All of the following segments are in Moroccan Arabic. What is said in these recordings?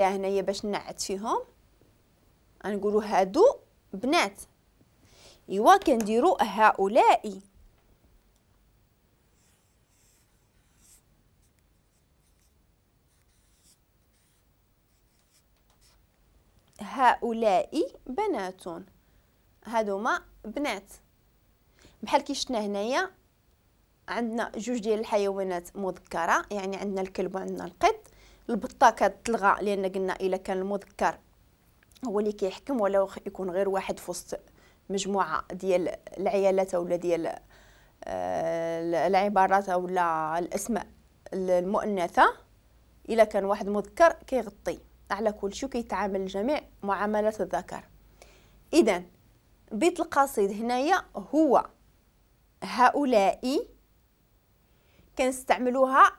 هنايا باش نعت فيهم غنقولوا هادو بنات. ايوا كنديروا هؤلاء. هؤلاء بنات، هادوما بنات. بحال كي شفنا هنايا عندنا جوج ديال الحيوانات مذكره، يعني عندنا الكلب وعندنا القط. البطة كتلغى لان قلنا الا كان المذكر هو اللي كيحكم، ولا يكون غير واحد في وسط مجموعة ديال العيالات اولا ديال العبارات اولا الاسماء المؤنثة، الا كان واحد مذكر كيغطي على كل شيء وكيتعامل الجميع معاملة الذكر. اذا بيت القصيد هنايا هو هؤلاء، كنستعملوها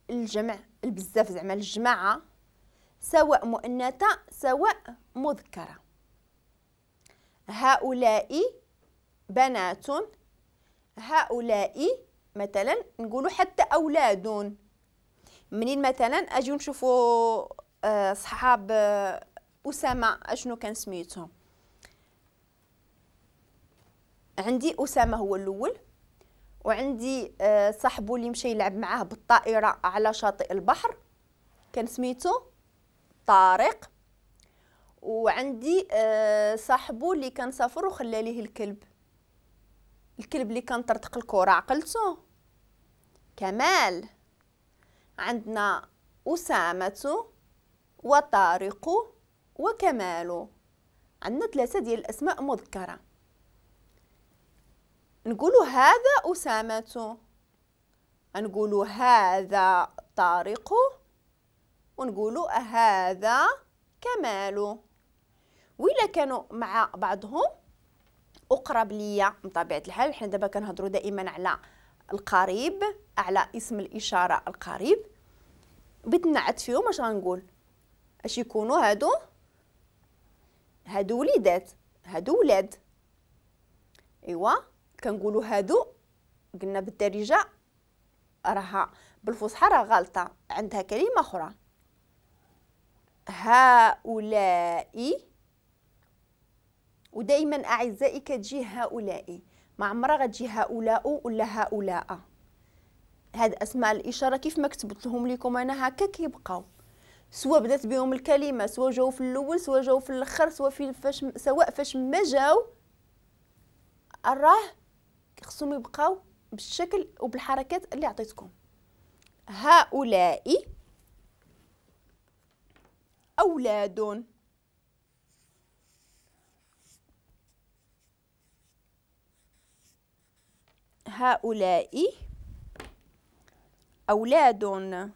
الجمع البزاف زعما الجماعة، سواء مؤنثة سواء مذكره. هؤلاء بنات، هؤلاء مثلا نقولوا حتى اولاد. منين مثلا اجيو نشوفوا صحاب اسامة اشنو كان سميتهم. عندي اسامة هو الاول، وعندي صاحبو اللي مشى يلعب معاه بالطائرة على شاطئ البحر كان سميتو طارق، وعندي صاحبو اللي كان سافر وخلى ليه الكلب، الكلب اللي كان طرطق الكره، عقلتو كمال. عندنا اسامة وطارق وكمال، عندنا ثلاثة ديال الاسماء مذكره. نقولوا هذا أسامة، نقولوا هذا طارق، ونقولوا هذا كمال. وإلا كانوا مع بعضهم أقرب ليا بطبيعة الحال، حنا دابا كنهضروا دائما على القريب، على اسم الإشارة القريب. بغيت نعت فيهم اش غنقول؟ اش يكونوا هادو؟ هادو وليدات، هادو ولاد. ايوا كنقولوا هادو، قلنا بالدارجة راها بالفصحى راه غلطه، عندها كلمة اخرى. هؤلاء، ودائما اعزائي كتجي هؤلاء، ما عمرها غتجي هؤلاء ولا هؤلاء. هاد اسماء الاشارة كيف ما كتبت لهم لكم انا هكا كيبقاو، سواء بدات بهم الكلمة، سواء جاو في الاول، سواء جاو في الاخر، سواء في فاش، سواء فاش ما جاو، راه خصهم يبقاو بالشكل وبالحركات اللي عطيتكم. هؤلاء أولاد. هؤلاء أولاد.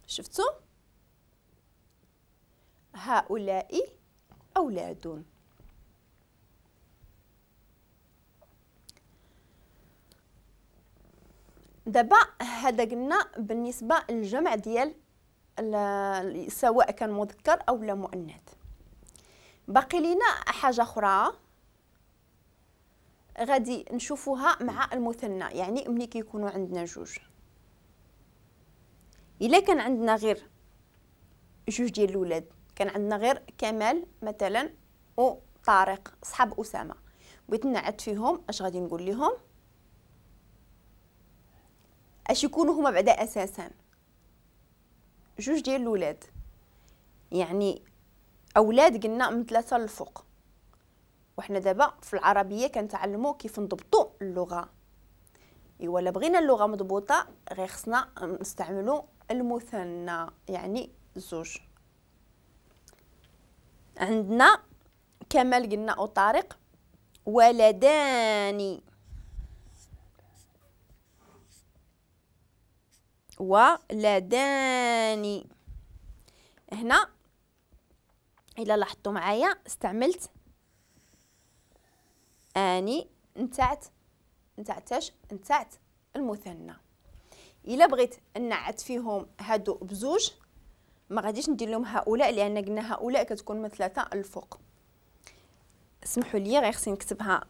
شفتوا؟ هؤلاء أولاد. دابا هذا قلنا بالنسبة للجمع ديال سواء كان مذكر أو لا مؤنث. باقي لينا حاجة أخرى غادي نشوفوها مع المثنى، يعني ملي كيكونوا عندنا جوج. إلا كان عندنا غير جوج ديال الولاد، كان عندنا غير كمال مثلا وطارق صحاب أسامة، بغيت نعت فيهم اش غادي نقول لهم؟ اش يكونوا هما بعدا اساسا؟ جوج ديال الولاد، يعني اولاد قلنا من 3 للفوق، وحنا دابا في العربية كنتعلموا كيف نضبطوا اللغة. ايوا لا بغينا اللغة مضبوطة غير خصنا نستعملوا المثنى، يعني زوج. عندنا كمال قلنا او طارق، ولدان، ولدان. هنا الا لاحظتوا معايا استعملت اني نتاعت نتاعتاش نتاعت المثنى. الا بغيت نعت فيهم هادو بزوج ما غاديش ندير لهم هؤلاء، لان قلنا هؤلاء كتكون من 3 الفوق. اسمحوا لي غير خصني نكتبها